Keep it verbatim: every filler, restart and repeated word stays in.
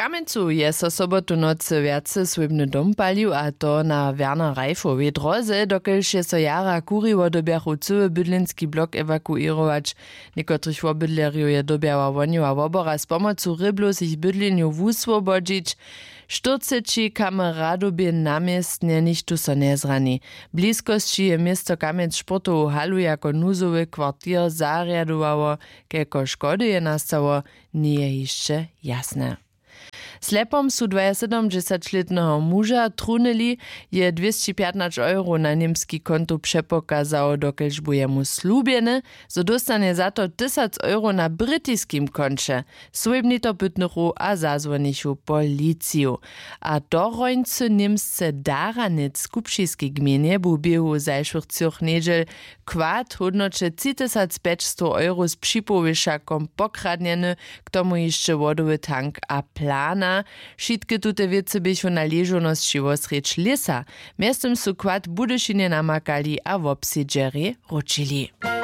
kamjencu je so sobotu nocy wjace swójbny dom palił, a to na werner reifowej dróze, dokelž je so jara kuriło dyrbjachu cyły bydlenski blok ewakuěrować. Někotrych wobydlerjow je dyrbjała wohnjowa wobora z pomocu rěblowsich bydlenjow wuswobodźić. Štyrceći kameradobě na městnje nichtó so njezrani. W bliskosći je město kamjenc sportowu halu jako nuzowy kwartir zarjadowało. Kelko škody je nastało, njeje hišće jasne. Slepom su dwajesydomdźesaćlětneho muža trunyli. Je dwěsći pjatnaće euro na němski kontu přepokazało, dokelž bu jemu slubjene, zo dóstanje za to tysac euro na britiskim konće. Swójbni to pytnychu a zazwonichu policiju. A to hrońcy němsce daranec w kupšiskej gmejnje bu w běhu zašłych třoch njedźel kład w hódnoće tři tysac pjećstow euro z připołowšakom pokradnjeny. K tomu hišće wodowy tank a plana. Wšitke tute wěcy běchu na ležownosći wosrjedź lěsa. Mjeztym su kład w budyšinje namakali a wobsedźerjej wróćili.